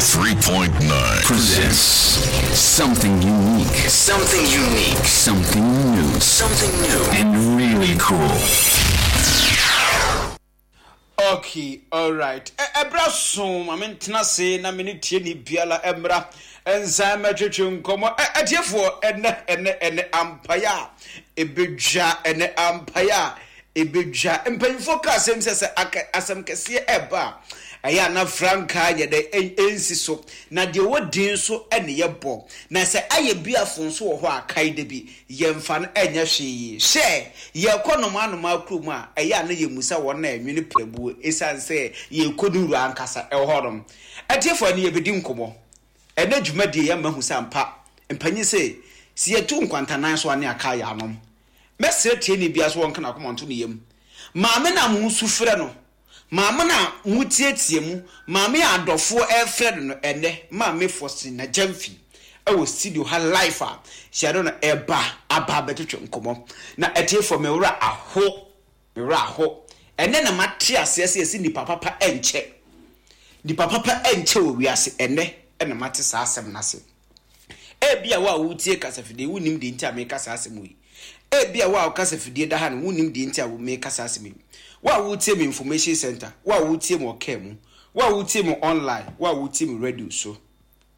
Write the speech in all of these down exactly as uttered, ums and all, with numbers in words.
ninety-three point nine presents something unique. Something unique. Something new. Something new. And really cool. Okay, alright. Ɛberɛ so ma mentena ase na me ne tie ni biara mmra nsan mɛtwetwe nkɔmmɔ. Atiefoɔ, ɛnɛ ɛnɛ ɛnɛ ampaeɛ a ɛbɛdwa, ɛnɛ ampaeɛ a ɛbɛdwa. Mpanyinfoɔ ka asɛm sɛ sɛ asɛm kɛseɛ ɛba a, ɛyɛ ana frankaa yɛ dɛ ɛnsi so. Na deɛ wɔ din so ɛne yɛbɔ. Na sɛ ayɛ bi afo nso wɔ hɔ a kae da bi, yɛmfa no ɛnyɛ hwee. Hyɛ, yɛkɔ noma noma kurom a, ɛyɛ ana yɛmusa wɔn na ɛnwene prɛbuo, ɛsiane sɛ yɛkɔ ne wura ankasa ɛwɔ hɔnom. Atiefoɔ, ne yɛbɛdi nkɔmmɔ. Ɛnɛ dwumadie yɛ mahu sɛ ampa, mpanyin sɛ, sɛ yɛtu nkwantanan so a ne aka yɛ anom. Mɛsrɛ tie ne bia so wɔnka n'akoma nto ne yam. Maame na mo nsu frɛ no, maame na mo tietie mu, maame a adɔfoɔ ɛfrɛ no no ɛnɛ, Maame Faustina Gyamfi ɛwɔ studio ha live a hyɛdo no ɛba aba abɛtwetwe nkɔmmɔ. Na atiefoɔ, me wura aho, me wura aho. Ɛnɛ na mate aseɛ sɛ yɛsi nipa papa ɛnkyɛ. Nipa papa ɛnkyɛ wɔ wiase ɛnɛ ɛna mate saa asɛm n'ase. Ebia wo a wotie kasafidie wonim deɛ nti a meka saa asɛm yi. Ebia wo a kasafidie da ha no wonim deɛ nti a meka saa asɛm yi. Wo a wotie me information center, wo a wotie me ɔkaa mu, wo a wotie me online, wo a wotie me radio so.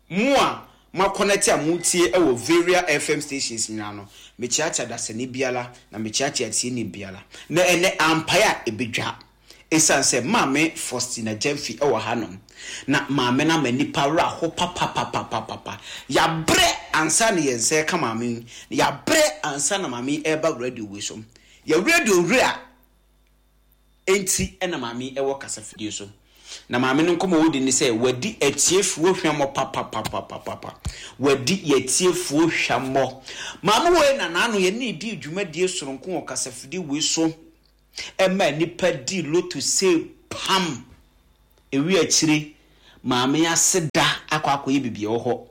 Mo a mo connect a motie ɛwɔ various F M stations nyinaa no, mekyerɛkyerɛ dasani biara na mekyerɛkyerɛ tieni biara. Na ɛnɛ ampaeɛ a ɛbɛdwa. Ɛsiane sɛ Maame Faustina Gyamfi ɛwɔ hanom. Na maame no ama nipa werɛ aho papapapapapa. Yɛabrɛ ansa na yɛn nsa ɛka maame yi. Yɛabrɛ ansa na maame yi ɛreba radio wei so. Yɛ radio wura enti ɛna maame yi ɛwɔ kasafidie so. Na maame no nkɔmmɔ wodi ne sɛ wadi atiefoɔ hwammɔ papapapapapa. Wadi yɛtiefoɔ hwammɔ. Maame wei na n'ano yɛ ne di dwumadie soronko wɔ kasafidie wei so. Ɛma nipa di loto se pam. Ewi akyire maame ase da akɔ akɔyɛ bibi wɔ hɔ.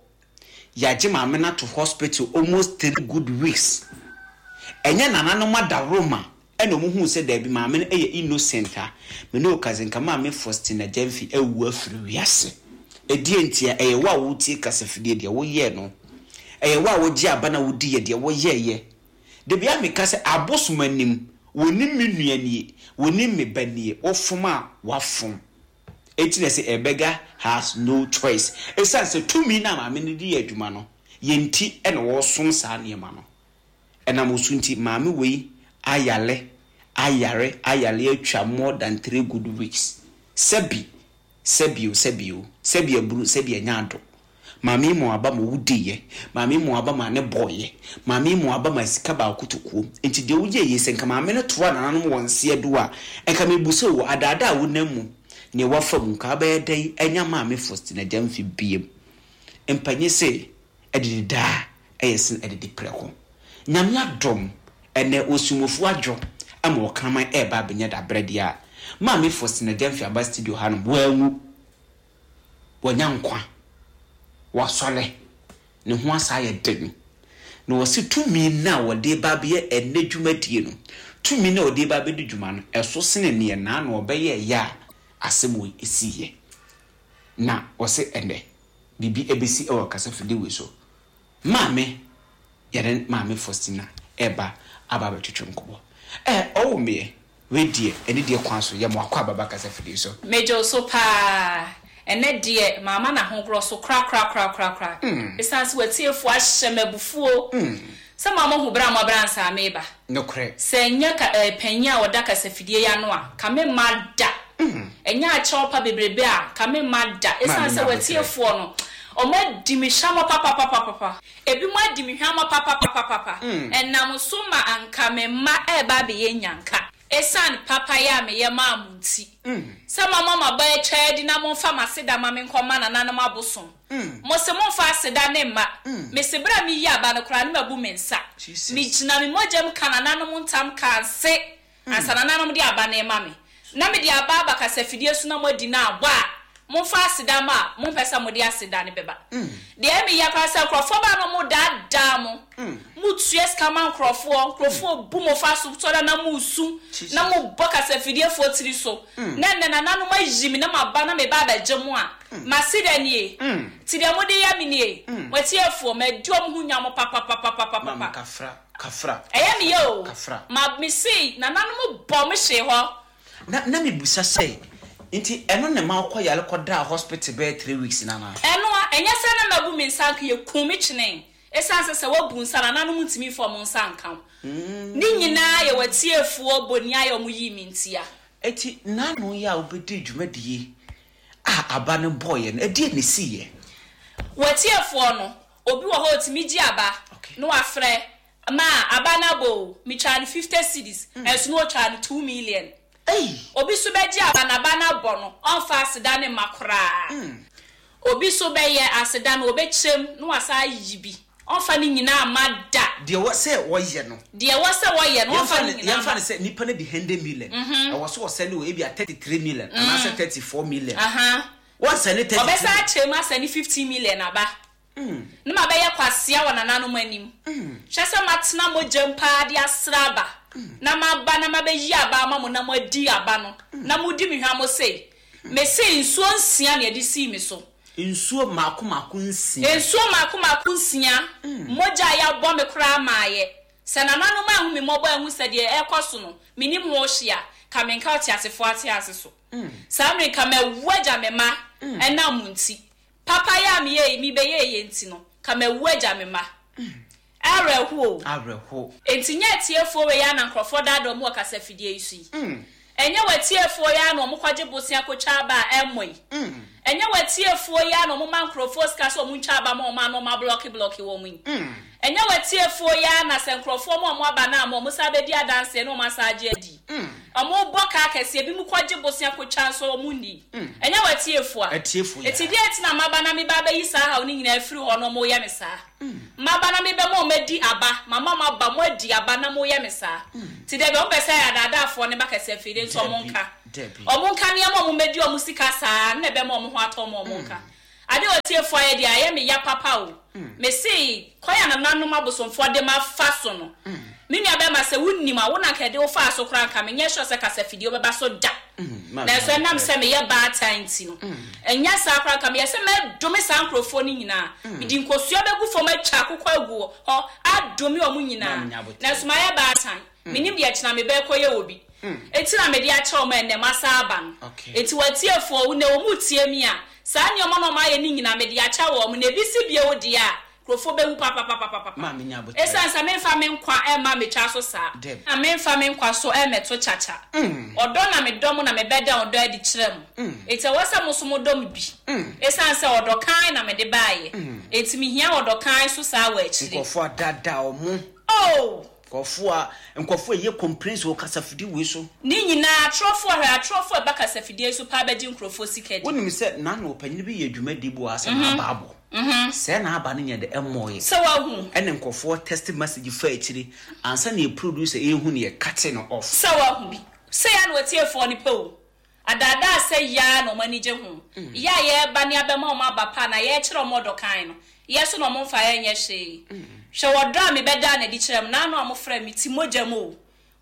Yɛagye maame no ato hospital almost three good weeks. Ɛnyɛ nananom adaworoma ɛna ɔmo huu sɛ daabi maame no ɛyɛ innocent a me ne okaze nka Maame Faustina Gyamfi awu afiri wiase. Ɛdeɛ nti a ɛyɛ wo a wotie kasafidie deɛ woyɛɛ no. Ɛyɛ wo a wogye aba na wodi yɛ deɛ woyɛɛyɛ. Dabi a meka sɛ abosom anim, wɔnim me nua nie, wɔnim me ba nie, wofom a wafom. Enti na sɛ a beggar has no choice. Ɛsiane sɛ tumi na maame no di yɛ adwuma no, yɛn ti ɛna wɔsom saa nneɛma no. Ɛnam osu nti maame wei ayale, ayare, ayale atwa more than three good weeks. Sɛbi, sɛbi o, sɛbi o, sɛbi aburu, sɛbi anya ado. Maame mu aba ma wodi yɛ, maame mu aba ma ne bɔɔyɛ, maame mu aba ma sika baako to kuom. Nti deɛ woyɛ yɛ sɛ nka maame no toa nananom wɔn nseɛ do a, nka mebu sɛ wɔ adaadaa a wonam mu, nea wafa mu nka abɛyɛ dɛn anya Maame Faustina Gyamfi biem. Mpanyin sɛ ɛdidi daa ɛyɛ sen ɛdidi prɛko. Nyame adom ɛnɛ osumofo adwo ama ɔkraman ɛɛba abɛnya dabrɛ deɛ a, Maame Faustina Gyamfi aba studio hanom, wanwu, wanya nkwa, wasɔre, ne ho asa ayɛ den. Na wɔsi tumi na wɔde ba abɛyɛ ɛnɛ dwumadie no, tumi na wɔde ba abɛdi dwuma no, ɛso sene neɛ naa na ɔbɛyɛ ɛyɛ a asɛm wɔ esi yɛ. Na wɔsi ɛnɛ biribi ɛbɛsi ɛwɔ kasafidie wei so. Maame yɛde Maame Faustina ɛba aba abɛtwetwe nkɔmmɔ. Ɛ ɔwɔ mmeɛ wei deɛ ɛne deɛ kwan so yɛ mo akɔ ababa kasafidie so. Megye so paa. Ɛnɛ deɛ maama na ahogorɔ so kora kora kora kora kora. Ɛsiane sɛ watiefoɔ ahyɛ me abufuo. Sɛ maama hu bra mo abra nsa meba. Nokorɛ. Sɛ nyɛ ka ɛɛ panyin a ɔda kasafidie ya no a, ka me mma da. Ɛnyɛ akyɛw pa bebrebe a, ka me mma da. Ɛsiane sɛ watiefoɔ no, ɔmo adi me hwamɔ papapapapa. Ebi mo adi me hwamɔ papapapapa. Ɛnam so ma anka me mma ɛɛba abɛyɛ nyanka. Ɛsiane papa yɛ a meyɛ maa mo nti. Sɛ mama ma ba atwa adi na momfa m'aseda ma me nkɔma nananom abosom. Mo se momfa aseda ne mma. Mese bere a meyi aba no koraa ne mabu me nsa. Megyina me mogya mu ka nananom ntam ka nse. Ansa nananom de aba ne ma me. Na mede aba aba kasafidie so na moadi na abɔ a, Momfa aseda ma a, mompɛ sɛ mode aseda no bɛba. Deɛ ɛyɛ me ya koraa sɛ nkurɔfoɔ ba na wɔdaadaa mo. Motua sika ma nkurɔfoɔ, nkurɔfoɔ bu mo fa so, tɔ da na moresu, na mobɔ kasafidiefoɔ tiri so. Na ɛnnɛ nananom ayi me na maba na mereba abɛgye mo a, m'aseda nie. Nti deɛ mode yɛ me nie. Mo atiefoɔ, madi wɔn ho nya mo papapapapapa. Maame Kafra, Kafra. Ɛyɛ me ya o. Kafra. Ma, mese nananom bɔ me hyee hɔ. Na, na mebisa sɛ, Nti ɛno na ɛma wokɔ yare kɔdaa hospital bɛyɛ three weeks no anaa? Ɛno a, ɛnyɛ sɛ na mabu me nsa anka yɛkum me kyenee. Ɛsiane sɛ sɛ woabu nsa a, nananom ntumi mfa wɔn nsa nka wo. Ne nyinaa yɛ w'atiefoɔ boniayɛ a wɔyii me ntia. Enti nnanu yi a wobɛdii dwumadie a aba no bɔeɛ no, ɛdeɛn na ɛsiiɛ? W'atiefoɔ no, obi wɔ hɔ a ɔtumi gye aba na wafrɛ, Ma, aba no abɔ o, metwaa no fifty cedis, ɛnso na ɔtwaa no two million. Obi so bɛgye aba na aba no abɔ no, ɔmfa aseda no mma koraa. Obi so bɛyɛ aseda no, ɔbɛkyɛm na wasan ayi bi, ɔmfa ne nyinaa mma da. Deɛ ɛwɔ sɛ wɔyɛ no. Deɛ ɛwɔ sɛ wɔyɛ no, ɔmfa ne nyinaa mma. Yɛmfa no sɛ nipa no di hundred million, ɛwɔ sɛ ɔsɛne wɔ ebia thirty three million anaasɛ thirty four million. Wɔnsɛne thirty three. Ɔbɛsan akyɛ mu asɛne fifteen million aba. Ne mabɛyɛ kwasea wɔ nananom anim. Hwɛ sɛ matena mogya mu paa de asra aba, na maba na mabɛyi aba ama mo na moadi aba no, na modi me hwammɔ sei. Mese nsuo nsia na yɛde sii me so. Nsuo mmaako mmaako nsia. Nsuo mmaako mmaako nsia. Mogya a yɛabɔ me koraa maeɛ. Sɛ nananom anhu me mmɔbɔ anhu sɛ deɛ ɛrekɔ so no, mennim ho hwee a, ka menka ɔteasefoɔ atease so. Saa mmerɛ yi, nka mawu agya me mma ɛnam mo nti. Papayɛ a meyɛe yi, mebɛyɛeɛ nti no, ka mawu agya me mma. Awerɛho o. Awerɛho. Enti nyɛ atiefoɔ wei ara na nkurɔfoɔ daadaa wɔn wɔ kasafidie yi so yi? Ɛnyɛ w'atiefoɔ yi ara na wɔkɔgye bosea kɔtwa aba a ɛmmɔ yi? Ɛnyɛ w'atiefoɔ yi ara na wɔma nkurɔfoɔ sika sɛ wɔntwa aba ma wɔn a na wɔablɔke blɔke wɔn yi? Ɛnyɛ w'atiefoɔ yi ara na sɛ nkurɔfoɔ ma wɔn aba no amma wɔsan bɛdi adanseɛ na wɔasan agye adi? Wɔbɔ ka akɛseɛ, ebinom kɔgye bosea kɔtwa nso wɔnni. Ɛnyɛ w'atiefoɔ a? Atiefoɔ yi Enti ara. deɛn nti na maba na meba abɛyi saa haw no nyinaa afiri hɔ na wɔreyɛ me saa? Maba na mebɛma wɔadi aba, mama moaba, moadi aba na moreyɛ me saa? Nti dabi, wɔpɛ sɛ adaadaafoɔ no ba kɛseɛ afei deɛ nti Dabi, wɔnka. dabi. Wɔnka nneɛma a wɔmmɛdi wɔn sika saa no na ɛbɛma wɔn ho atɔ wɔn a wɔnka. Ade a ɔtiefoɔ ayɛ deɛ, ayɛ me ya papa o. Mese, kwan a nananom abosomfoɔ de mafa so no, me nua bɛrima sɛ wonim a, wo na anka yɛde wo faa so koraa anka menyɛ sure sɛ kasafidie wobɛba so da. Nanso ɛnam sɛ meyɛ baatan nti no, ɛnyɛ saa koraa anka meyɛ sɛ mɛdome saa nkurɔfoɔ no nyinaa. Mede nkosua bɛgu fam atwa akokɔ agu hɔ adome wɔn nyinaa. Nanso mayɛ baatan. Mennim deɛ kyena mebɛkɔyɛ wɔ bi. Enti na mede akyɛ wɔn a ɛnnɛ masan aba no. Enti w'atiefoɔ, nnɛ wɔretie me a, saa nneɛma no a wɔayɛ no nyinaa, mede akyɛ wɔn, na ebi si bio deɛ a, nkurɔfoɔ bɛwu papapapapapa. Ɛsiane sɛ memfa me nkwa mma mmetwa so saa, na memfa me nkwa so mmɛto kyakya. Ɔdɔ na medɔ mo na mebɛda ɔdɔ adi kyerɛ mo. Enti ɛwɔ sɛ mo nso modɔ me bi. Ɛsiane sɛ ɔdɔ kann na mede baeɛ, enti mehia ɔdɔ kann nso saa wɔ akyire. Nkurɔfoɔ adaadaa wɔn. Oh! Nkurɔfoɔ a nkurɔfoɔ a ɛyɛ complaints wɔ kasafidie wei so. Ne nyinaa, atorɔfoɔ, hwɛ, atorɔfoɔ a ɛba kasafidie yi so paa bɛgye nkurɔfoɔ sika di. Wonim sɛ n'ano ɔpanyin bi yɛ dwumadie bi wɔ ha sɛ n'aba abɔ. Sɛɛ n'aba no nyɛ dɛ ɛmmɔeɛ. Sɛ woahu. Ɛna nkurɔfoɔ text message fa akyire ansa na yɛ producer ɛrehu no yɛ cut no off. Sɛ woahu bi. Sei ara na w'atiefoɔ no pɛ o. Adaadaa sɛ yi ara na wɔn ani gye ho. Yɛ a yɛreba ne abɛma wɔn aba pa anaa yɛrekyerɛ wɔn ɔdɔ kann no, yɛ so na wɔmfa yɛn nyɛ hwee. Hwɛ ɔdɔ a mebɛdaa no adi kyerɛɛ mo, n'ano a mofrɛɛ me ti mogya mu o.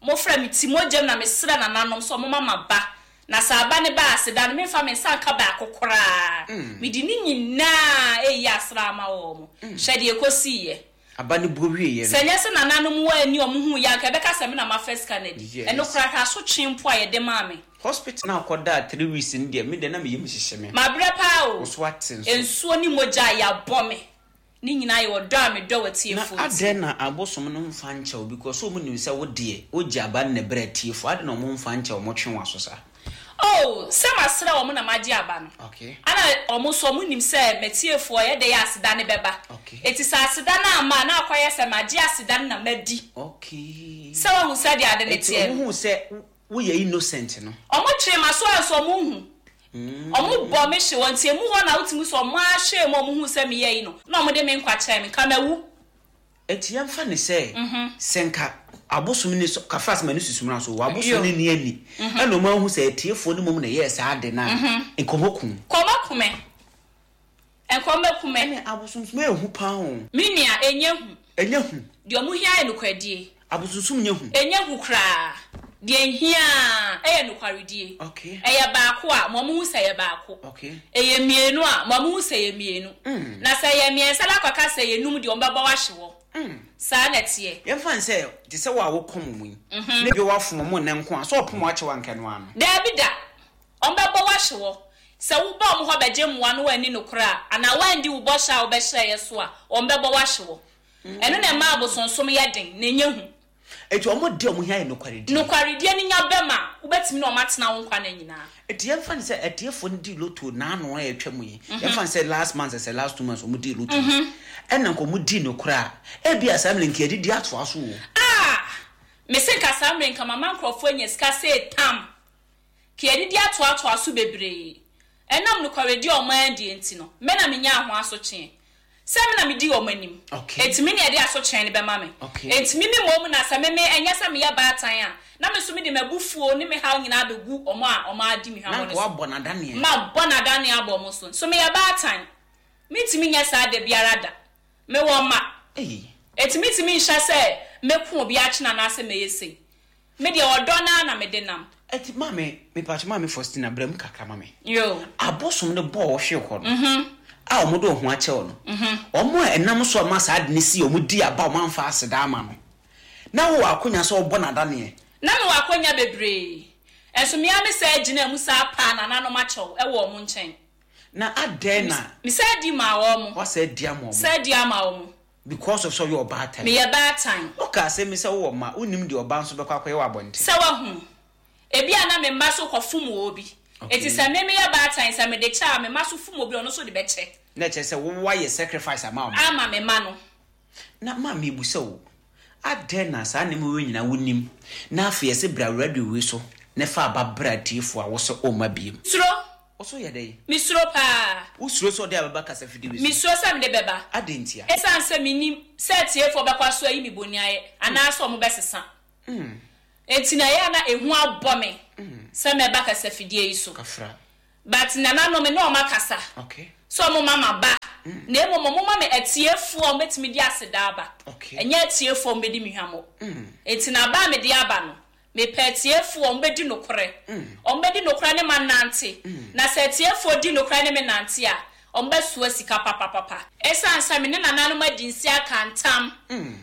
Mofrɛɛ me ti mogya mu na mesrɛɛ nananom sɛ wɔmma m'aba, na sɛ aba no ba a, aseda no, memfa me nsa nka baako koraa. Mede ne nyinaa reyi asra ama wɔn. Hwɛ deɛ ɛkɔsiiɛ. Aba no buo wieeɛ no. Sɛ ɛnyɛ sɛ nananom wɔ ani a wɔhuu yɛ a, anka ɛbɛka sɛ me na mafa sika no adi. Yes. Ɛno koraa, hwɛ asotwe mpo a yɛde maa me. Hospital no a wokɔdaa three weeks no deɛ, me deɛ na me yam hyehye me. Mabrɛ paa o. Wo so ate nso. Nsuo ne mogya a yɛabɔ me. Ne nyinaa yɛ ɔdɔ a medɔ w'atiefoɔ Na nti. adɛn na abosom no mfa nkyɛ wo because wɔn nim sɛ wo deɛ wogye aba no na ɛbrɛ atiefoɔ adɛn na wɔn mfa nkyɛ wo wɔtwe w'aso saa. Oh sɛ masrɛ wɔn na magye aba no. Okay. Ɛna wɔn nso wɔn nim sɛ m'atiefoɔ ɛyɛ dɛn a aseda no bɛba. Okay. Enti sɛ aseda no amma a na akɔyɛ sɛ magye aseda no na madi. Okay. Sɛ wahu sɛdeɛ ade no Enti teɛ wɔn no. hu sɛ woyɛ innocent no. Wɔn twee m'aso a nso wɔn nhu. Wɔn bɔ me hye wɔ nti emu hɔ na wotumi hu sɛ wɔn ara hwɛɛ mu a wɔn huu sɛ meyɛ yi no na wɔn de me nkwa kyɛɛ me. Nka mawu. Enti yɛmfa no sɛ, sɛ nka abosom no sɔ, Kafras ma no susu mmara so, wɔ abosom no nni ani, ɛna wɔn ahu sɛ atiefoɔ no mmom na ɛyɛɛ saa ade no a, nka wɔaku wo. Nka wɔaku Ɔmo bɛku me. Ɛne abosonsom ɛyɛ hu paa o. Me nua, ɛnyɛ hu. Ɛnyɛ hu. Deɛ ɔmo hia yɛ nokwaredie. Abosonsom nyɛ hu. Ɛnyɛ hu koraa. Deɛ nhia ɛyɛ nokwaredie. Okay. Ɛyɛ baako a, ma ɔmo hu sɛ ɛyɛ baako. Okay. Ɛyɛ mmienu a, ma ɔmo hu sɛ ɛyɛ mmienu. Na sɛ ɛyɛ mmiɛnsa na akɔka sɛ ɛyɛ num deɛ, ɔmo bɛbɔ wahye wɔ. Saa na ɛteɛ. Yɛmfa n sɛ te sɛ wo a wokɔm mu yi na bi woafom mo nnɛ nko a sɛ ɔpom akyɛ wo anka no ano. Daabi da, ɔmo bɛbɔ wahye wɔ. Sɛ wobɔ ɔmo hɔ bɛgye mmoa no woanni nokorɛ a, anaa woandi wo bɔhyɛ a wobɛhyɛeɛ so a, ɔmo bɛbɔ wahye wɔ. Ɛno na ɛma abosonsom yɛ den na ɛnyɛ hu. Enti ɔmo de ɔmo hia yɛ nokwaredie. Nokwaredie no nya bɛma a, wobɛtumi na ɔmo atena wo nkwa no nyinaa. Enti yɛmfa no sɛ atiefoɔ no dii lotto n'ano a ɛtwa mu yi, yɛmfa no sɛ last month sɛ last two months ɔmo dii lotto, ɛna nka ɔmo dii nokorɛ a, ebia saa mmerɛ nka yɛdidi atoa so o. Ah! Mese nka saa mmerɛ nka mama nkurɔfoɔ anya sika sɛ tam. Ka yɛdidi atoatoa so bebree. Ɛnam nokwaredie a ɔmo andie nti no, me na menyaa ho asotweɛ. Sɛ me na medi ɔmo anim. Okay. Enti me na yɛde asotweɛ no bɛma me. Okay. Enti me me mmom na sɛ me me ɛnyɛ sɛ meyɛ baatan a, na me nso mede m'abufuo ne me haw nyinaa bɛgu ɔmo a ɔmo adi me hwammɔ Na no nka so. woabɔ n'adaneɛ. Mabɔ n'adaneɛ abɔ ɔmo so. So meyɛ baatan. Mentumi nyɛ saa da biara da. Mewɔ mma. Ei. Enti mentumi nhyɛ sɛ mɛku obi akyena anaasɛ mɛyɛ sei. Me deɛ ɔdɔ naa na mede nam. Enti maame, mepatwe maame Faustina brɛ mu kakra ma me. Yo. Abosom no bɔɔ ɔhwe hɔ no. A ɔmo de ɔho akyɛw no. Ɔmo a ɛnam so ama saa ade no si ɔmo di aba ɔmo amfa aseda ama no. Na wo akonya sɛ ɔbɔ n'adaneɛ. Na mewɔ akonya bebree. Ɛnso mmea me sɛ gyina mu saa paa nananom akyɛw ɛwɔ ɔmo nkyɛn. Na adɛn na Me sɛ di ma wɔn. wasɛ di ama ɔmo. Sɛ di ama wɔn. Because of sɛ ɔyɛ ɔbaatan. Meyɛ baatan. Woka asɛm mi sɛ wowɔ mma, wonim deɛ ɔba nso bɛkɔ akɔyɛ wɔ abɔnten. Sɛ wahu. Ebi a na me mma so kɔfom wɔ obi. Okay. Eti sɛ me meyɛ baatan sɛ mede kyɛ a me mma so fom obi ɔno nso de bɛkyɛ. Na kyerɛ sɛ wowayɛ sacrifice ama ɔmo. Ama me mma no. Na maame ebusa wo, adɛn na saa nneɛma wei nyinaa wonim na afei yɛsɛ bra radio wei so na fa aba bra atiefoɔ a wosɛ ɔmma biem. Suro. Wo so yɛ dɛn? Mesuro paa. Wosuro sɛ ɔde abɛba kasafidie wei so? Mesuro sɛ mede bɛba. Adɛn ntia? Ɛsiane sɛ menim sɛ atiefoɔ bɛkɔ so ayi me bɔne ayɛ anaasɛ ɔmo bɛsesa. Enti na ɛyɛ a na ehu abɔ me sɛ mɛba kasafidie yi so. Kafra. But nananom me ne ɔmo akasa. Okay. Sɛ ɔmo ma ma ba. Na mmom ɔmo ma me atiefoɔ a ɔmo de aseda aba. Okay. Ɛnyɛ atiefoɔ a ɔmo bɛdi me hwammɔ. Enti na aba a mede aba no, mepɛ atiefoɔ a ɔmo bɛdi nokorɛ. Ɔmo bɛdi nokorɛ ne ma nante. Na sɛ atiefoɔ di nokorɛ ne me nante a, ɔmo bɛsoa sika papapapa. Ɛsiane sɛ me ne nananom adi nsi aka ntam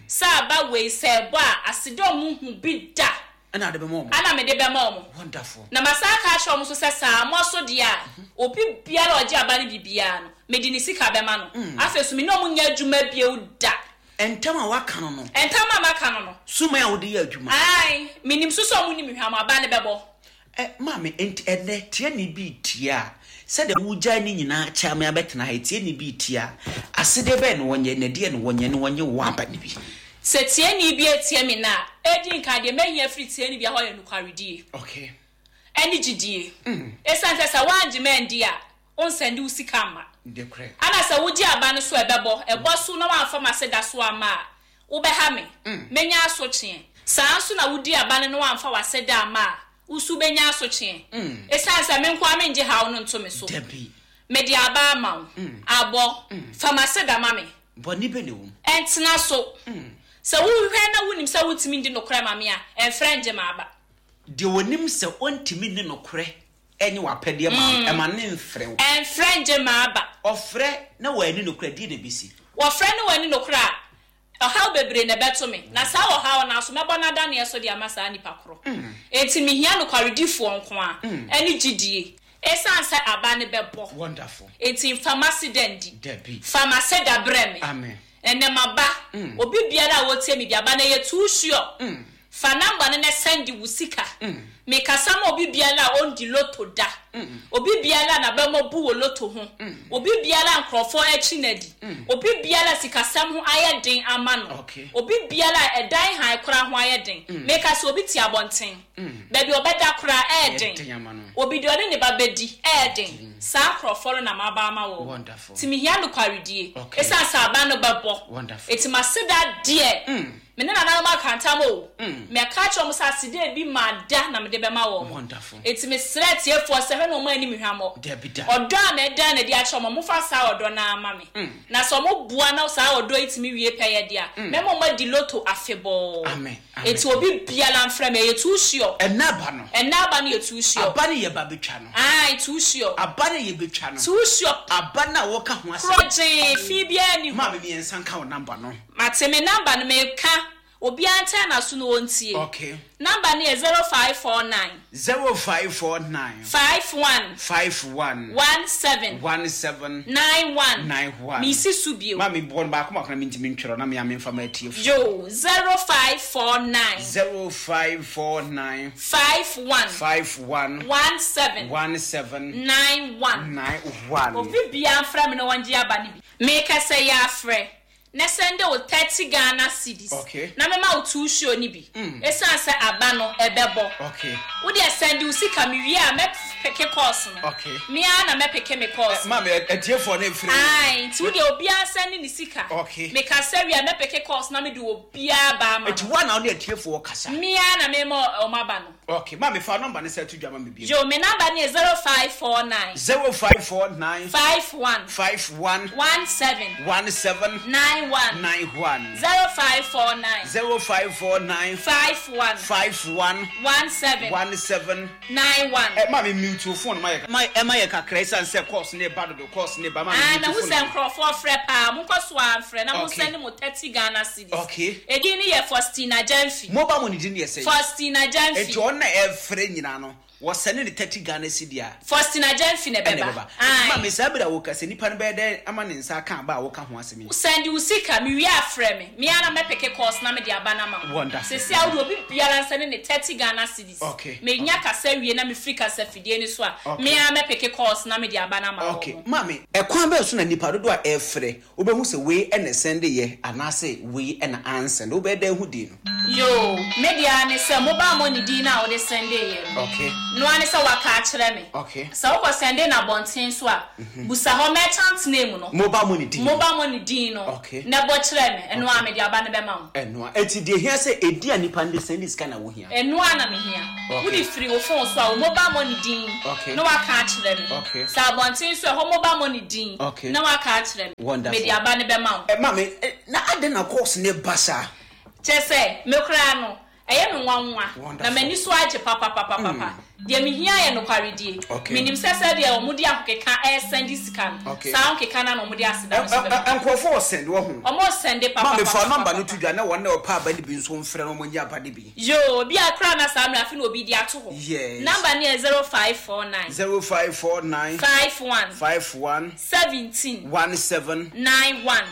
sɛ aba wei sɛ ɛbɔ a aseda ɔmo hu bi da. Ɛna ade bɛma ɔmo. Ana mede bɛma ɔmo. Wonderful. Na masan aka akyerɛ ɔmo so sɛ saa mo so deɛ a, obi biara a ɔgye aba no biribiara no, mede ne sika bɛma no. Afei so me ne ɔmo nyɛ adwuma bio da. Ntam a waka no no. Ntam a maka no no. Suman a wode yɛ adwuma. Ae, menim so sɛ ɔmo nim hwam aba ne bɛbɔ. Ɛ maame, enti ɛnɛ tie ne bi tie a, sɛdeɛ wogyae ne nyinaa kyɛ ame abɛtena ha, tie ne bi tie a, asede bɛn na wɔnyɛ, na deɛ na wɔnyɛ, na wɔnyɛ wɔ aba ne bi. Sɛ tie ne bi etie me na, edi nka deɛ mɛhia firi tie ne bi hɔ yɛ nokwaredie. Okay. Ɛne gyidie. Ɛsiane sɛ sɛ woangye mandi a, wonsɛnde wo sika mma. Dekorɛ. Ana sɛ wogye aba no so ɛbɛbɔ, ɛbɔ so na woamfa m'aseda so ama a, wobɛha me. Menya asotweɛ. Saa nso na wodi aba no na woamfa w'aseda ama a, wo nso wobɛnya asotweɛ. Ɛsiane sɛ me nko ara mengye haw no nto me so. Dabi. Mede aba ama wo. Abɔ. Fa m'aseda ma me. Bɔne bɛ na ɛwɔ mu. Ɛntena so. Sɛ wohwɛ na wonim sɛ wontumi ndi nokorɛ ma me a, ɛmfrɛ ngye m'aba. Deɛ wɔnim sɛ ɔntumi nni nokorɛ ɛnyɛ w'apɛdeɛ ma wo, ɛma ne mfrɛ wo. Ɛmfrɛ ngye m'aba. Ɔfrɛ na wɔani nokorɛ, deɛ na ɛbɛsi. Wɔfrɛ ne wɔani nokorɛ a, ɔhaw bebree na ɛbɛto me. Na saa ɔhaw no aso mɛbɔ n'adaneɛ so de ama saa nipa korɔ. Enti mehia nokwaredifoɔ nko a, ɛne gyidie. Ɛsiane sɛ aba ne bɛbɔ. Wonderful. Enti mfa m'aseda ndi. Dabi. Fa m'aseda brɛ me. Amen. Ɛnɛ maba. Obi biara a wɔtie me bi aba na ɛyɛ too sure. Fa number no na send wo sika. Mekasa ma obi biara a ɔndi lotto da. Obi biara a n'abɛmɔ bu wɔ lotto ho. Obi biara a nkurɔfoɔ akyi n'adi. Obi biara a sikasɛm ho ayɛ den ama no. Okay. Obi biara a ɛdan han koraa ho ayɛ den. Mekasa obi te abɔnten. Baabi ɔbɛda koraa ɛyɛ den den. ama no. Obi deɛ ɔne ne ba bɛdi ɛyɛ den. Saa nkurɔfoɔ no na maba ama wɔn. Wonderful. Nti mehia nokwaredie. Okay. Ɛsiane sɛ aba no bɛbɔ. Wonderful. Enti maseda deɛ. Me ne nananom aka ntam o. Mɛka kyerɛ wɔn sɛ aseda bi ma da na mede bɛma wɔn. Wonderful. Eti mesrɛ atiefoɔ sɛ hwɛ na ɔmo anim hwammɔ. Dabi da. Ɔdɔ a mɛda na de akyerɛ ɔmo, mofa saa ɔdɔ no ama me. Na sɛ ɔmo boa na saa ɔdɔ yi tumi wie pɛyɛ deɛ a, mɛma ɔmo adi lotto afebɔɔ. Amen, amen. Eti obi biara mfrɛ me, ɛyɛ too sure. Ɛnna aba no. Ɛnna aba no yɛ too sure. Aba no yɛ ba bɛtwa no. Ae, too sure. Aba no yɛ bɛtwa no. Too sure. Aba no a wɔka ho asɛm. Korɔgyee fi biara ni hɔ. Maame, mmiɛnsa nka wo number no. Mate, me number no meka, obiara ntɛn n'aso na ɔntie. Okay. Number no yɛ zero five four nine. zero five four nine. five one. five one. one seven. one seven. nine one. nine one. Misi so bio. Maame, bɔ no baako baako na mentumi ntwerɛ na mea memfa ma atiefo. Yo, zero five four nine. zero five four nine. five one. five one. one seven. one seven. nine one. nine one. Obi biara mfrɛ me na wɔngye aba no bi. Meka sɛ yɛ afrɛ na send wo thirty Ghana cedis. Okay. Na mema wo two show ni bi. Ɛsiane sɛ aba no ɛbɛbɔ. Okay. Wo deɛ send wo sika, me wie a mɛpick calls no. Okay. Me ara na mɛpick me calls. Maame, atiefoɔ no mfiri. Ae, nti wo deɛ obiara send ne sika. Okay. Meka sɛ wie a mɛpick calls na mede obiara ba ama Eti no. wa na wo ne atiefoɔ kasa. Me ara na mema ɔmo aba no. Okay, maame, fa number no sɛ to dwa ma me bi. Yo, me number ne yɛ zero five four nine. zero five four nine. five one. five one. one seven. one seven. nine one. nine one. zero five four nine. zero five four nine. five one. five one. one seven. one seven. nine one. Ɛ maame, mute wo phone ma yɛ ma ɛma yɛ kakra esan sɛ calls ne ba dodo, calls ne ba. Maame, Ah, mute na wo ho phone. sɛ nkurɔfoɔ frɛ paa, monkɔ so amfrɛ na Okay. monsɛne mo thirty Ghana cedis. Okay. Edin ne yɛ Faustina Gyamfi. Mobile money din yɛ sɛ. Faustina Gyamfi. Eti ɔno na ɛfrɛ nyinaa no, wɔsɛne ne thirty Ghana cedi a. Faustina Gyamfi na ɛna ɛbɛba. ɛbɛba. Ae. Maame, saa bere a wɔka sɛ nipa no bɛyɛ dɛ ama ne nsa aka aba a wɔka ho asɛm yi. Send wo sika, mewie afrɛ me, me ara mɛpick calls na mede aba no ama wo. Wonderful. Sɛsi a wode obi biara nsɛne ne thirty Ghana cedis. Okay. Menya kasa wie na mefiri kasa fidie no so a, Okay. me ara mɛpick calls na mede aba no ama wo. Okay, maame, ɛkwan bɛɛ so na nipa dodoɔ a ɛfrɛ wobɛhu sɛ wei ɛna sɛnde yɛ anaasɛ wei ɛna ansɛnde? Wobɛyɛ dɛ hu din no? Yo, me deɛ ne sɛ mobile money din no a wode sɛnde yɛ no, okay noa ne sɛ waka akyerɛ me. Okay. Sɛ wokɔ sɛnde na abɔnten so a, busa hɔ merchant name no. Mobile money din. Mobile money din no. Okay. Na ɛbɔ kyerɛ me, ɛno a mede aba no bɛma wo. Ɛnoa eti deɛ hia sɛ edi a nipa no de sɛnde sika na wohia. Ɛno a na mehia. Okay. Wode firi wo phone so a, wo mobile money din Okay. na waka akyerɛ me. Okay. Sɛ abɔnten so ɛhɔ mobile money din Okay. na waka akyerɛ me. Wonderful. Mede aba no bɛma wo. Ɛ maame, ɛ, na ade na calls ne ba saa? Kyɛ sɛ me koraa no ɛyɛ me nwanwa. Wonderful. Na m'ani so agye papapapapa. Deɛ mehia yɛ nokwaredie. Okay. Menim sɛ sɛdeɛ ɔmo de ahokeka ɛsɛnde sika no, Okay. saa ahokeka no na ɔmo de aseda no so Ɛ- bɛma. ɛ- nkurɔfoɔ ɔsɛnde wɔ ho. Ɔmo sɛnde Maame, fa number no papapapapa. to dwa na wɔn na ɔpa aba no bi nso mfrɛ na wɔn nye aba no bi. Yo, obi akora na saa mmerɛ afe na obi de ato hɔ. Yes. Number no yɛ zero five four nine. zero five four nine. five one. five one. seventeen. one seven. nine one.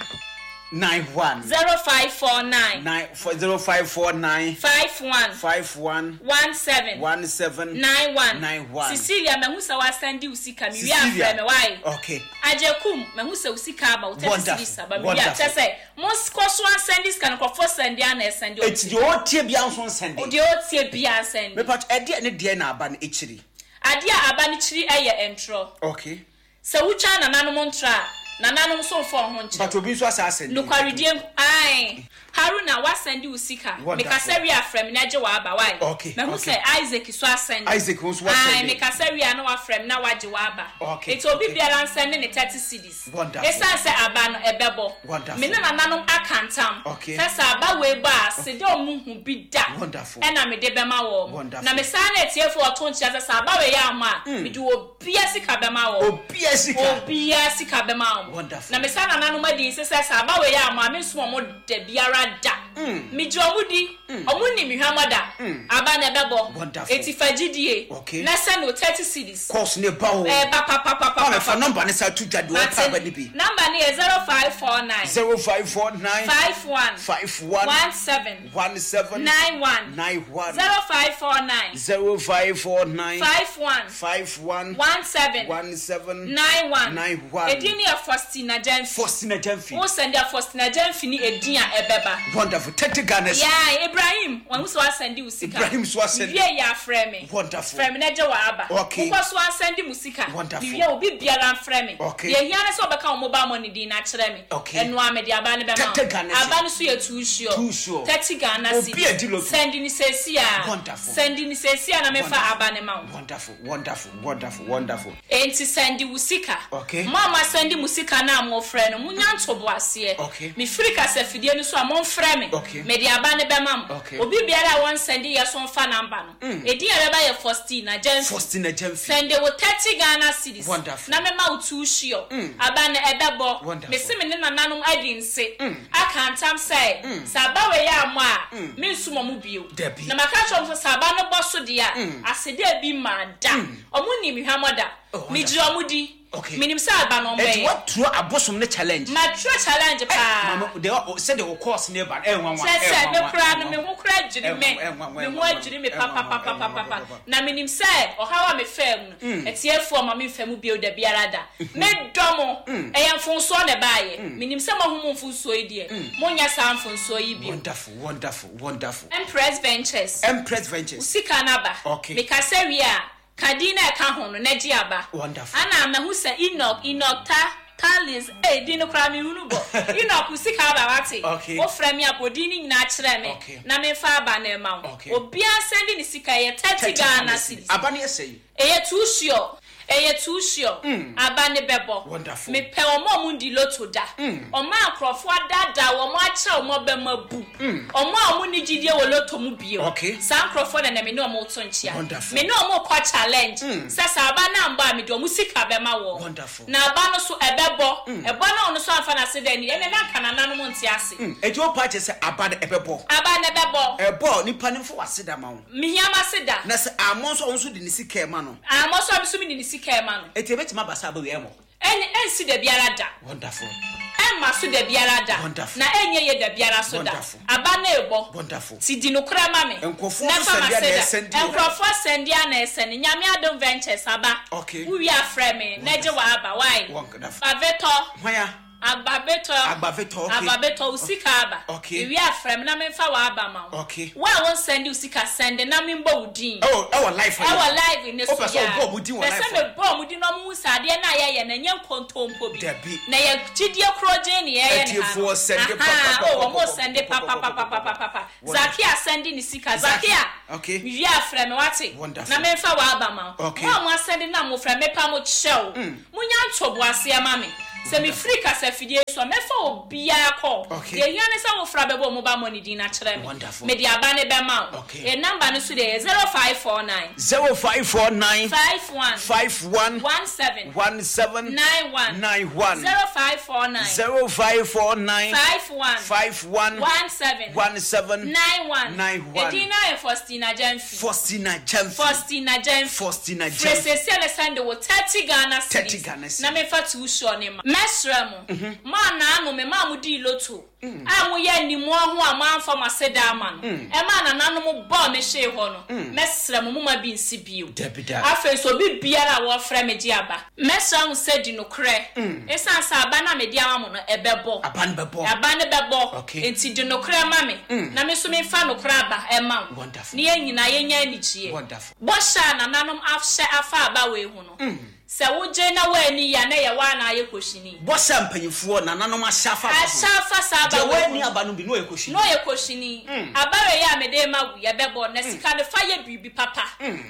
nine one. zero five four nine. nine four zero five four nine. five one. five one. one seven. one seven. nine one. nine one. Cecilia, mahu sɛ wasɛnde wo sika, mewie Cecilia. afrɛ me wae. Okay. Agyekum, mahu sɛ wo sika aba, wo thirty Wonderful. cedis aba, mewie a Wonderful. kyɛ sɛ monkɔ so asɛnde sika no, nkurɔfoɔ sɛnde a na ɛsɛnde. Eti deɛ ɔtie bia nso nsɛnde. Deɛ ɔtie bia nsɛnde. Mepa ɛdeɛ ne deɛ na aba no akyiri? Adeɛ a aba no kyiri ɛyɛ ntorɔ. Okay. Sɛ wotwa nananom ntorɔ a, nananom nso mfa wo ho nkyerɛ. But obi nso asa asɛnde. Nokwaredie, ae, Haruna, wasɛnde wo sika. Wonderful. Mekasa wie afrɛ me na agye w'aba wae. Okay, Mahu okay. sɛ Isaac so asɛnde. Isaac nso Ae, wasɛnde. mekasa wie a na wafrɛ me na wagye w'aba. Okay, Nti obi okay. biara nsɛnde ne thirty cedis. Wonderful. Ɛsiane sɛ aba no ɛbɛbɔ, Wonderful. me ne nananom aka ntam Okay. sɛ sɛ aba wei bɔ a, sede ɔmo hu bi da Wonderful. ɛna mede bɛma wɔn. Wonderful. Na mesaa na atiefoɔ ɔto nkyerɛ sɛ sɛ aba wei yɛ ama a, mede obia sika bɛma wɔn. Obia sika. Obiara sika bɛma wɔn. Wonderful. Na mesa nananom adi nsɛ sɛ sɛ aba wei yɛ ama a, mensom ɔmo da biara da. Megye ɔmo di, ɔmo nim hwamɔ da aba na ɛbɛbɔ. Wonderful. Eti fa gyidie Okay. na sɛ no thirty cedis. Calls ne ba o. Ɛɛba papapapa. Maame, fa number ne sa to dwa deɛ ɔpa aba no bi. Number no yɛ zero five four nine. zero five four nine. five one. five one. one seven. one seven. nine one. nine one. zero five four nine. zero five four nine. five one. five one. one seven. one seven. nine one. nine one. Edin no yɛ Faustina Gyamfi. Faustina Gyamfi. Wo sɛnde a, Faustina Gyamfi ne edin a ɛbɛba. Wonderful. Wonderful. Thirty Ghana cedis. Yeah, Ibrahim, wɔn nso asɛnde wo sika. Ibrahim so asɛnde. Wie yɛ afrɛ me. Wonderful. Frɛ me na gye wɔ aba. Okay. Wokɔ so asɛnde mu sika. Wonderful. Wie obi biara mfrɛ me. Okay. Deɛ hia ne sɛ ɔbɛka wo mobile money din na kyerɛ me. Okay. Ɛno a mede aba ne bɛma wo. Thirty Ghana cedis. Aba no so yɛ too sure. Too sure. Thirty Ghana Obi cedis. adi lotto. Send ne seesi a. Wonderful. Send ne seesi a na mefa aba ne ma wo. Wonderful, wonderful, wonderful, wonderful. Enti send wo sika. Okay. Mo a mo asɛnde mo sika na mo frɛ no, munya ntoboaseɛ. Okay. Mefiri kasafidie no so a momfrɛ me. Okay. Mede aba ne bɛma mo. Okay. Obi biara a wɔnsɛnde yɛ so mfa number no. Edin a ɛbɛba yɛ Faustina Gyamfi. Faustina Gyamfi. Send wo thirty Ghana cedis. Wonderful. Na mema wo too sure. Aba no ɛbɛbɔ. Wonderful. Mese me ne nananom adi nse. Aka ntam sɛ, sɛ aba wei yɛ ammɔ a, mensum ɔmo bio. Dabi. Na maka kyerɛ ɔmo sɛ sɛ aba no bɔ so deɛ a, aseda bi ma da. Ɔmo nim hwamɔ da. Oh, wonderful. Megyina ɔmo di. Okay. Menim sɛ aba no Eti ɔmbɛyɛ. what abosom ne challenge. Matwerɛ challenge paa. Mama, de sɛ de wo course ne ba. Eh nwanwa. Kyerɛ sɛ me koraa no me ho koraa dwiri me. Eh, nwanwa, Me ho nwanwa, adwiri me eh, nwanwa, papapapapapa. eh, nwanwa. Na menim sɛ ɔhaw a mefaa mu no, atiefoɔ ma memfa mu bio da biara da. Medɔ mo. Ɛyɛ mfonsoɔ na ɛbaayɛ. Menim sɛ moahu mo mfonsoɔ yi deɛ, monyɛ saa mfonsoɔ yi bio. Wonderful, wonderful, wonderful. Empress Ventures. Empress Ventures. Sika no aba. Okay. Mekasa wie a, ka din na ɛka ho no na gye aba. Wonderful. Ana mahu sɛ Enoch, Enoch ta Talis, eh, din no koraa mehunu bɔ. Enoch wo sika aba wate. Okay. Wofrɛ me a, bɔ din no nyinaa kyerɛ me. Okay. Na memfa aba no ɛma wo. Okay. Obiara sɛnde ne sika ɛyɛ thirty Ghana cedis. Aba ne yɛ sɛn? Ɛyɛ too sure. Ɛyɛ too sure. Aba ne bɛbɔ. Wonderful. Mepɛ wɔn a wɔn di lotto da. Wɔn a nkurɔfoɔ adaadaa wɔn akyerɛ wɔn bɛma bu. Wɔn a wɔn ni gyidie wɔ lotto mu bio. Okay. Saa nkurɔfoɔ na na me ne wɔn to nkyia. Wonderful. Me ne wɔn kɔ challenge. Sɛ saa aba no ambɔ a mede wɔn sika bɛma wɔn. Wonderful. Na aba no so ɛbɛbɔ. Ɛbɔ na ɔno so amfa n'ase dɛ ni ɛnɛ na nka nananom nte ase. Eti wo pa kyerɛ sɛ aba no ɛbɛbɔ. Aba no ɛbɛbɔ. Ɛbɔ nipa ne mfo wase da ma wo. Mihia ma se da. Na sɛ amɔ nso ɔno nso de ne sika ɛma no. Amɔ so a mi so mi de ne sika ɛma no. Eti ebetumi aba sɛ aba wei ɛmɔ. Ɛn ɛnsi da biara da. Wonderful. Ɛmma so da biara da. Wonderful. Na ɛnyɛ yɛ da biara so da. Wonderful. Aba na ɛbɔ. Wonderful. Ti di nokora ma me. Nkurɔfoɔ Na nso fa ma sɛnde a na se da. ɛsɛnde o. Nkurɔfoɔ sɛnde a na ɛsɛnde. Nyame Adom Ventures aba. Okay. Wowie afrɛ me. Na gye wɔ aba. Why? Wonderful. Agbavɛtɔ. Hwan ya? Agbavɛtɔ. Agbavɛtɔ, okay. Agbavɛtɔ, wo sika aba. Okay. Ewie afrɛ me na memfa wɔ aba ma wo. Okay. Wo a wonsɛnde wo sika sɛnde na membɔ wo din. Ɛwɔ ɛwɔ live. Ɛwɔ live ne so Wopɛ sɛ ɔbɔ ɔmo din wɔ Pɛ live. sɛ mebɔ ɔmo din na ɔmo hu sɛ adeɛ no a yɛyɛ no ɛnyɛ nkontompo bi. Dabi. Na yɛ gyidie koro gye ne yɛyɛ ne ha no. Atiefoɔ sɛnde Aha, pa, pa, oh, pa, ɔmo pa, pa, sɛnde pa, pa, pa, pa, pa, pa, papapapapapa. pa. Zakia sɛnde ne sika. Zakia, Zakia. okay. Wie afrɛ me wate. Wonderful. Na memfa wɔ aba ma wo. Okay. Mo a mo asɛnde na mo frɛ mepa mo kyɛw. Munya ntoboaseɛ ma me. Sɛ mefiri kasafidie so a mɛfa obiara kɔ. Okay. Deɛ hia ne sɛ wofra bɛbɔ ɔmo ba mɔ ne din na kyerɛ me. Wonderful. Mede aba ne bɛma wo. Okay. Yɛ number no so deɛ yɛ zero five four nine. Zero five four nine. five one. Five one. one seven. One seven. nine one. Nine one. zero five four nine. Zero five four nine. five one. Five one. one seven. One seven. nine one. Nine one. Edin na yɛ Faustina Gyamfi. Faustina Gyamfi. Faustina Gyamfi. Faustina Gyamfi. Fresese ne send wo thirty Ghana cedis. thirty Ghana cedis. Na mefa two sure ne ma. Mɛsrɛ mo. Mo anaano me ma mo di lotto. A mo yɛ nimu ho a mo amfa mo ase da ama no. Ɛma nananom bɔ me hwee hɔ no. Mɛsrɛ mo mo ma bi nsi bio. Dabi da. Afei so obi biara a wɔfrɛ me gye aba. Mɛsrɛ mo sɛ di nokorɛ. Ɛsiane sɛ aba na mede ama mo no ɛbɛbɔ. Aba no bɛbɔ. Aba no bɛbɔ. Okay. Enti di nokorɛ ma me. Na me nso memfa nokorɛ aba ɛma wo. Wonderful. Ne yɛn nyinaa yɛnya anigyeɛ. Wonderful. Bɔhyɛ a nananom ahyɛ afa aba wei ho no. Sɛ wogye na woani ya na yɛ woa na ayɛ kɔhyini. Bɔhyɛ mpanyinfoɔ nananom ahyɛ afa aba ho. Ahyɛ afa saa aba Deɛ wei wɔani ho. aba no bi na ɔyɛ kɔhyini. Na ɔyɛ kɔhyini. Aba wei a mede ma wo yɛbɛbɔ na sika no fa yɛ biribi papa.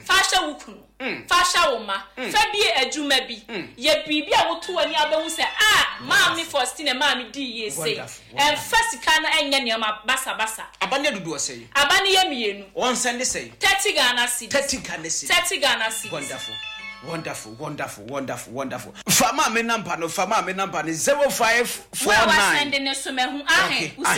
Fa hyɛ wo kunu. Fa hyɛ wo ma. Fa bie adwuma bi. Yɛ biribi a woto w'ani abɛhu sɛ a maame Faustina maame dii yie sei. Wonderful, Ɛmfa sika no ɛnyɛ nneɛma basabasa. Aba no yɛ dodoɔ sɛn? Aba no yɛ mmienu. Wɔn sɛnde sɛn? thirty Ghana cedis. Thirty Ghana cedis. thirty Ghana cedis. Wonderful. Wonderful, wonderful, wonderful, wonderful. Fa maame number no, fa maame number no zero five four Wo a nine. wasɛnde ne so mahu ahe. Okay, Wo sika